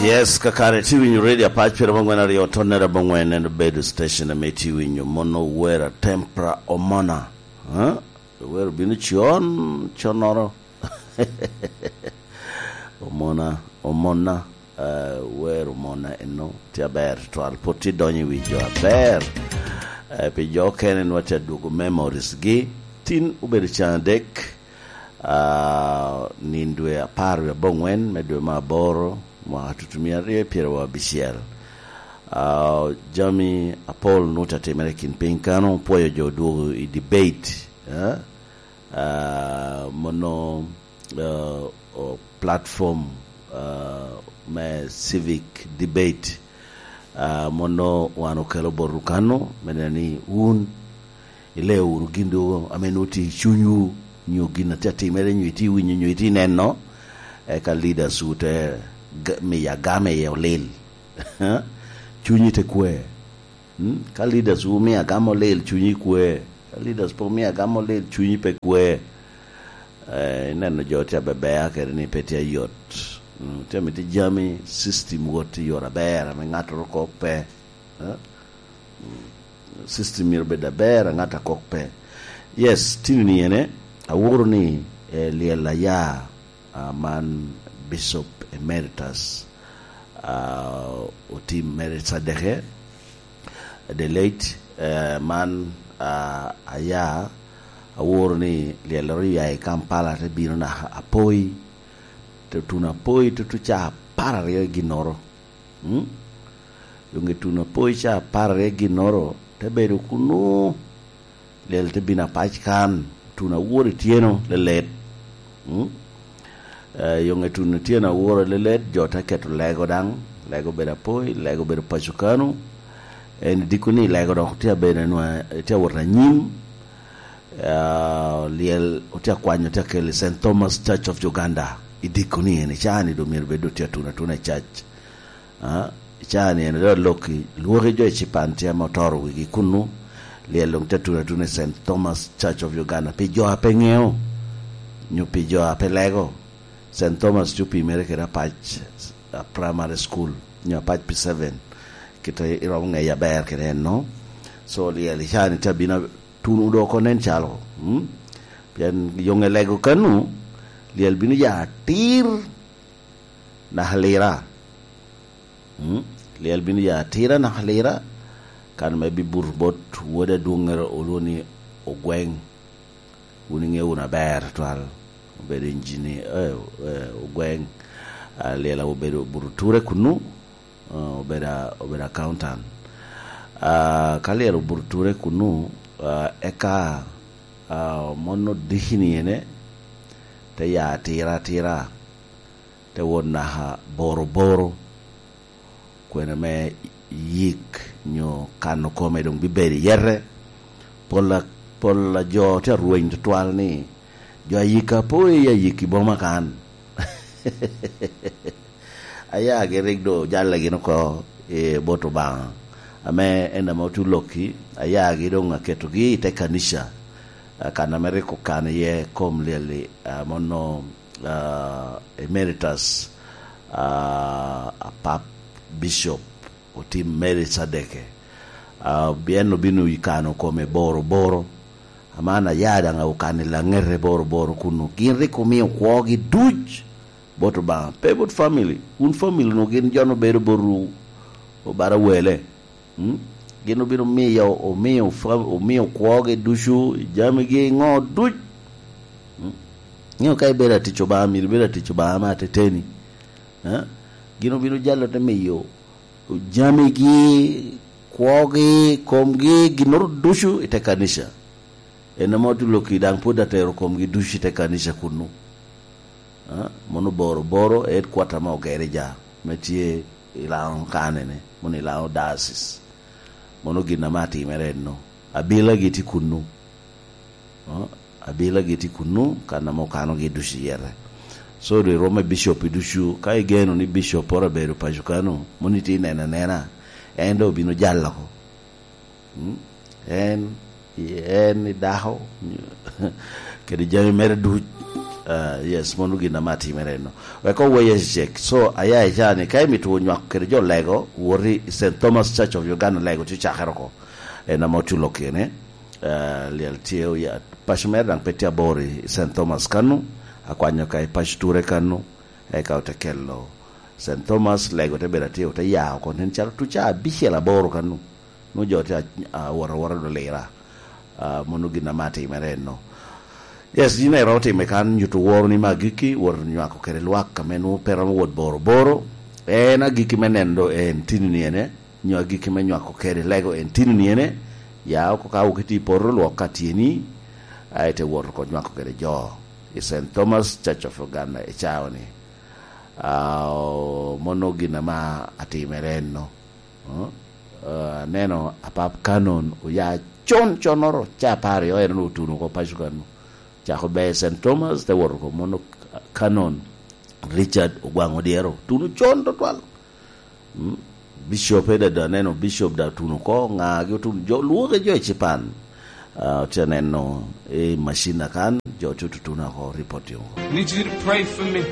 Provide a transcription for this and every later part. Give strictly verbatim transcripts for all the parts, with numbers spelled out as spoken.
Yes, kakare tye winyo Radio Apac pire mangwen aryo tonnere abongwen, en obedo station ame tye winyo mono wera tempra omona. Huh? Wero bino con, connoro. Omona, omona, eh, wero omona eno tye aber twal, pwod tye donyo i wi jo aber. Eh, pi jo okene nwa tye adwogo memories gi. Tin obedo can adek, ah, nin dwe apar wi abongwen me dwe me aboro, mwaka tutumia aryo pyeraryo abicel. Ah, jami apol nut atimere i kin piny kano, pwoyo jo odwogo i debate, eh? Ah, mono, ah, o platform, ah, me civic debate, ah, mono wan okelo botwu kano, me neno ni wun ileo wunu gin dwogo ame nwoŋo tye i cunywu, nyo gin a tye atimere, nyo itye winyo, nyo itye neno, eka leaders wu te ga-, miyo agama iye olil. Cunyi te kwe. Mm? Ka leaders wu miyo agama olil, cunyi kwe. Ka leaders pe omiyo agama olil, cunyi pe kwe. Eh, ineno jo tye abebea kede ni pe tye ayot. Mm, tye mito jami, system wot i yore aber, ame ŋattoro kok pe. Eh? Mm, system myero bed aber, a ŋat a kok pe. Yes, tini ni ene, aworo ni, eh, lyel aya, ah, man Bishop Emeritus, ah, Otim Mary Sadeke, the late, eh, man, ah, aya, aworo ni lyellere oya i Kampala te bino naka Apoi, te tuno Apoi tutu ca apar aryo i ginnoro. Mm? Doŋ i tuno Apoi ca apar aryo i ginnoro, te bedo kunu, lyel te bino apac kan, tuno awor ityeno lelet. Mm? Eh, yoŋ i tuno ityeno awor lelet, jo te keto lego daŋ, lego bedo Apoi, lego bedo paco kanu. En idiko ni lego dok tye abedo nwa-, tye awot anyim. Eh, lyel otye akwanyo, tye akel i Saint Thomas Church of Uganda. Idiko ni en i caa ni doŋ myero bed otye atuno atuna i cac. Ah, i caa ni en dok alokki, lwoki jo i Cipan tye ame otoro wigi kunu, lyel doŋ tye atuno atuna i Saint Thomas Church of Uganda. Pi jo a pe ŋeo, nyo pi jo a pe lego, Saint Thomas tye opimere kede Apac, ah, Primary School, nyo Apac P seven, kite iromo ŋeye aber kede en no. So, lyel i caa ni tye abino a-, tuno doŋ oko nen calo, mm? Pien yoŋe lego kanu, lyel bino ya atir naka lira. Mm? Lyel bino ya atira naka lira, kan me bibuto bot wode adwoŋŋere olwoŋo ni Ogweng. Wun iŋeo wunu aber twal. Obedo injini-, eh, eh, Ogweng. Ah, lyel obedo buto ture kunu, ah, obedo, obedo accountant. Ah, ka lyel obuto ture kunu, ah, eka, ah, mono diki ni ene, te ya atira atira. Te wot naka Boro Boro, kwene me yik nyo kano kome doŋ bibedo i yete. Pol a, pol a jo tye arweny tutwal ni, jo ayika po i ayik i boma kan. Ayagi rik doŋ ojalle gin oko i bot Obaŋa, ame en ame otu lokki, ayagi doŋ aketogi i te kanica, ah, kan ame rik okano iye kom lyel-li, ah, mono ah, Emeritus, ah, Apap Bishop Otim Mary Sadeke. Ah, en obino i kano kome Boro Boro. Aman aya daŋ okano i laŋete Boro Boro kunu. Gin rik omio kwogi duc bot Obaŋa. Pe bot family. Wun family no gin jo no bedo botwu obara wele. Mm? Gin obino miyo, omio fa-, omio kwogi ducu, jamigi, ŋo duc. Mm? Ŋeo ka ibedo atic Obaŋa, myero ibedo atic Obaŋa me ateteni. Eh? Gin obino jalo te miyo jamigi, kwogi, komgi, ginnoro ducu i te kanica. En ame otuloki daŋ pwod atero komgi ducu i te kanica kunu. Ah, mono Boro Boro, headquarter me Ogerija, me tye i Laŋo kanene, mono i Laŋo diocese. Mono gin ame atimere enno. Abilagi tye kunnu. Ah, abilagi tye kunnu, kan ame okanogi ducu i yete. So, doŋ iromo i bishop ducu, ka igeno ni bishop poro abedo paco kano, mono itye neno anena, en doŋ obino jalo oko. Mm? En, en i dako, kede jami mere duc. Ah, yes, mano gin ame atimere eno. Wek owe yes check. So, aya i caa ni, ka imito nywako kede jo Lego, wot i Saint Thomas Church of Uganda, Lego, tye cakere oko. En ame oculo kene. Ah, lyel tye oya. Paco mere daŋ pe tye abor i Saint Thomas kanu. Akwanyo ka i paco ture kanu. Eka ote kelo Saint Thomas, Lego te bedo atye, ote ya oko. Nen calo tuca abicel aboro kanu. Nwoŋo jo tye a-, awot awota do lira. Ah, mano gin ame atimere eno. Yes, yin iromo time kan, nyuto woro ni me agikki, wot nywako kede lwak ame nwoŋo pe romo wot boro boro. En agikki me neno do en tini ni ene, nyo agikki me nywako kede Lego en tini ni ene, ya oko ka wok iti i poto lwok ka tyeni, a ite wot oko nywako kede jo i Saint Thomas Church of Uganda i cawa ni. Ah, o, mano gin ame atimere eno. Eh, eh, aneno Apap Canon oya con connoro, ca apar aryo en otuno oko paco kanu. Cako ber Saint Thomas, te wot oko mono Canon Richard Ogwaŋ Odyero. Otuno con tutwal. Mm. Bishop eda da aneno Bishop da otuno oko, ŋagi otuno, jo, lwoke jo i Cipan. Ah, otye aneno i macin akan, jo tye tutuno oko, report yo. Need you to pray for me.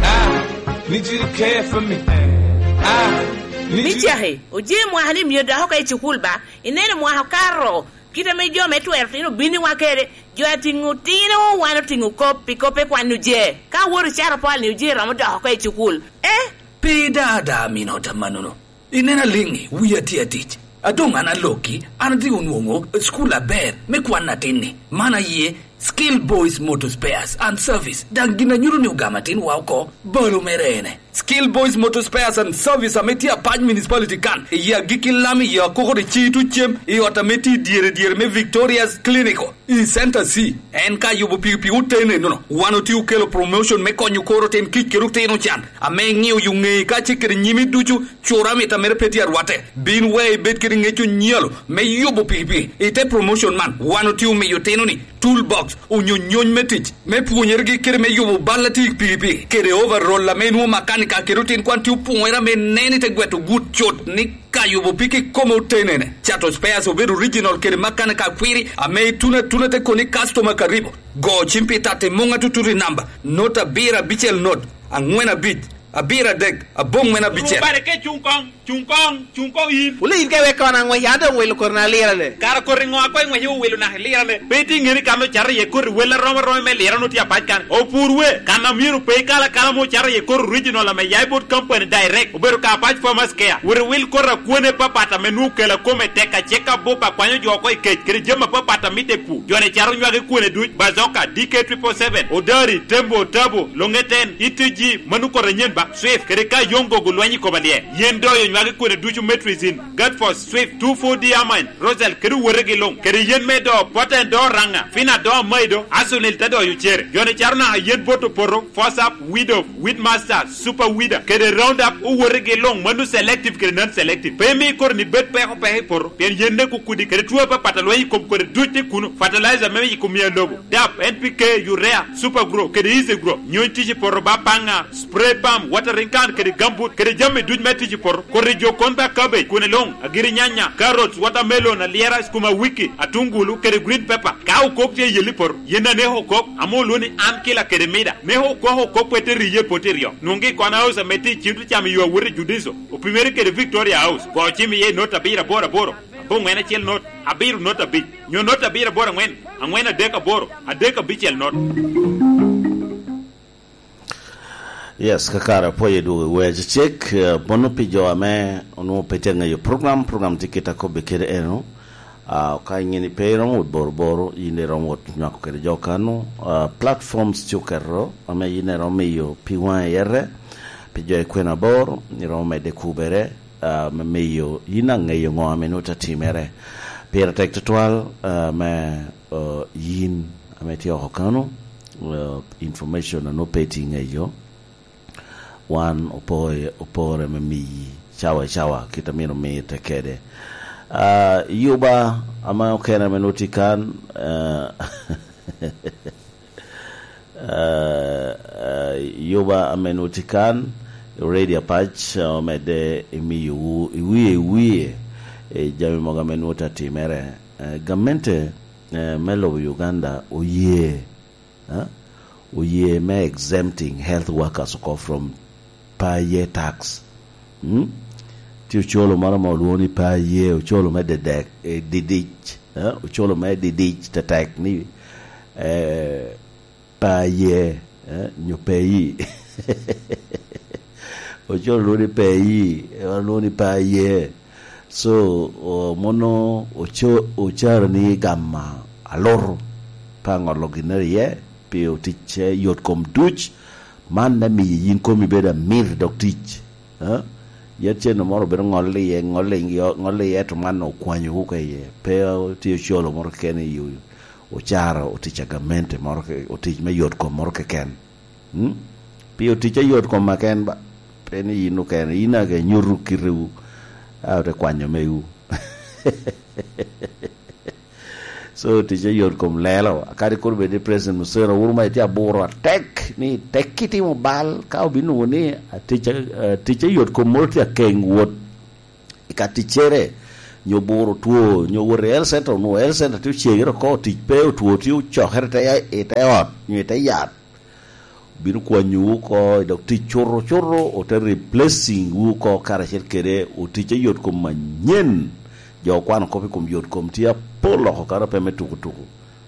I need you to care for me. I need you Micaki, oje mwaka ni myero dok oko i cukul ba? Ineno mwaka okato, kit ame jo me twero tino obinniwa kede, jo atiŋo tino, wan otiŋo kop, pi kop pe kwan oje. Ka wot i caro pol ni oje romo dok oko i cukul. Eh? Pe da da amino ta manono. Ineno aliŋi, wia tye atic. A doŋ an alokki, an adhi onwoŋo school aber me kwan atin-ni. Man aye Skill Boys Motor Spares and Service. Daŋ gin a nyuto ni ogamo atinwa oko, balo mere ene. Skill Boys Motor Spares and Service ame tye Apac Municipality kan, i Agikki Lam, i Akoko de Citu Cem, i ot ame tye i dyere dyere me Victoria's Clinical. I Center C, en ka yubo pikipiki otene nono. Wan otye okelo promotion me konyo kor otin kic kede otino can, ame iŋio yo ŋeyi ka ce kede nyimi ducu, cura mita mere pe tye arwatte. Bin we ibed kede ŋec onyalo me yubo pikipiki. I te promotion man, wan otye omiyo otino-ni toolbox, onyo nyony me tic, me pwonyeregi kede me yubo bal atir pikipiki, kede overall ame inwoŋo makanika kede otin kwan tye opwoŋere ame nen i te gweto gut cut ni ka yubo piki kome otenene. Cato spares obed original kede makanika akwiri ame ituno atuna te koni customer karibu. Go cim pi tatti muŋ atutut i namba, not abiro abicel not, aŋwen abic, abiro adek, aboŋwen abicel. Rubare ke cuŋ koŋ, cuŋ koŋ, cuŋ koŋ in. Wule in ka iwek kono aŋwec, an doŋ wilo koti na lirane. Kara koti ŋo a koŋ iŋwec iwilo naka ilirane? Pe itye ŋeni kan ocato iye koti wel arom aroma me lirane otye apac kan. Opur we, kan a myero pe ikal akala mo ocato iye koti original ame ya i bot company direct, obedo ka Apac Farmers Care. Wot iwil koti akwone papat ame nwoŋo kela kome tek, acek abup, akwanyo jo oko i kec, kede jami apapat a mitte i pur. Jo-ni cato nywagi kwone duc, Bazoka, D K triple seven, Odari, Tembo, Tabo, Longeten, E T G, mano koti anyen ba, Swift, kede ka Yongo gulwenyo i koma lye. Yen doyo nywagi kwone ducu, Metrizin, Gatfos, Swift, two four D Amine, Rosel, kede wotegi luŋ, kede yen me do, Poten do Raŋa, Fina do Maido, Asunil te doyo cere. Jo-ni cato naka yen bot opoto, Fosap, Widow, Weedmaster, Super Weeder, kede Roundup, owotegi luŋ, mano selective kede non-selective. Pe imi koti-ni bed peko peko i poto, pien yen ne kukudi, kede two apapat a lweny i kom kodi duc tye kuno, fertilizer me yiko mia lobo, dap, N P K, urea, Super Grow, kede Easy Grow, nyony tic i poto ba paŋa, spray pump, watering can, kede gambut, kede jami duc me tic i poto, koti jo kon ba cabbage, kwone luŋ, agiri nyanya, carrots, watermelon, alyera, sukuma wiki, atungulu, kede green pepper. Ka okok tye i yel i poto, yen aneko okok, ame olwoŋo ni an kila kede mida, me okok okok pe te riye i poto iryo. Nwoŋgi i kona house ame tye i cim te camo yo awot i Judiso, opimere kede Victoria House, go cim iye i not abiro aboro aboro, aboŋwen acel not, abiro not abic, nyo not abiro aboro aŋwen, aŋwen adek aboro, adek abicel not. Yes, kakare apwoyo dwogo i wer cecek, eh, mono pi jo ame onwoŋo pe tye aŋeyo program, program tye kit akobbe kede eno. Ah, ka ŋini pe iromo wot boroboro, yin iromo wot nywako kede jo kano. Ah, platforms tye oketo ame yin iromo miyo pi waŋe yete, pi jo i kwena aboro, iromo medde kubere, ah, me miyo yin aŋeyo ŋo ame nwoŋo te timere. Pire tek tutwal, ah, me, ah, yin ame tye oko kano, ah, information a nwoŋo pe itye ŋeyo. Wan opore, opore me miyi cawa i cawa, kit a myero omitte kede. Ah, yuba ame okene ame nwoŋo tye kan, ah, ah, ah, yuba ame nwoŋo tye kan, radio Apac, ah, omedde imiyowu i wie, i wie, i jami mogo ame nwoŋo te timere. Eh, gamente, eh, me lobo Uganda oye, eh, oye me exempting health workers oko from per year tax. Mm? Tye ocolo moro ma olwongo ni per year, ocolo me dedek, eh, didic, eh? Ocolo me didic tetek ni, eh, per year, eh? Nyo pei. Ocolo lwongo ni pei, eh, wan lwongo ni per year. So, o-, mono oco-, ocaro ni gamo alutu pe aŋolo ginnere iye, pi otic, eh, yot kom duc, man me miyo yin komi bedo amir i dog tic. Eh? Yet cen moro obedo ŋolle iye, ŋolle iye, ŋolle iye, to man okwanyowu ka iye. Pe tye ocolo moro keken i ocaro otic a gamente moro ke-, otic me yot kom moro keken. Mm? Pi otic a yot kom a ken ba, pe ni yin okene, yin ake nyuto kitewu, a ote kwanyo mewu. So, tic a yot kom lelo, kadi kur bed ni President Museveni, wun ma itye aburo atek, ni tek kitimo bal, ka obino nwoŋo ni, a, tic a, a, tic a yot kom moro tye akeng wot i ka ticcere, nyo buro two, nyo wot i health center, onwoŋo health center tye ocegere oko, tic pe, otwo tye ocokere i te, i te ot, nyo i te yat. Bino kwanyowu oko, dok tic cuto, cuto, ote replacing wu oko karacel kede otic a yot kom anyen. Jo okwano kop i kom yot kom tye apol oko kano pe me tuku tuku.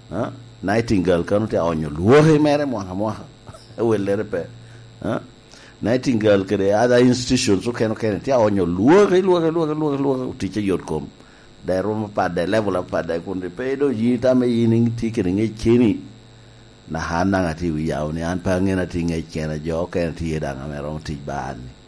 Ha? Nightingale kano tye aonyo lwoki mere mwaka mwaka. Wellere pe. Ha? Nightingale kede other institutions okene okene tye aonyo lwoki, lwoki, lwoki, lwoki, lwoki, otic a yot kom. Daŋ i rwom apat, daŋ i level apat, daŋ kun pe doŋ yin itame yin itye kede ŋec keni. Naka an daŋ atye i wi yao ni an pe aŋen atye i ŋec kena, jo okene tye daŋ ame romo tic ba an ni.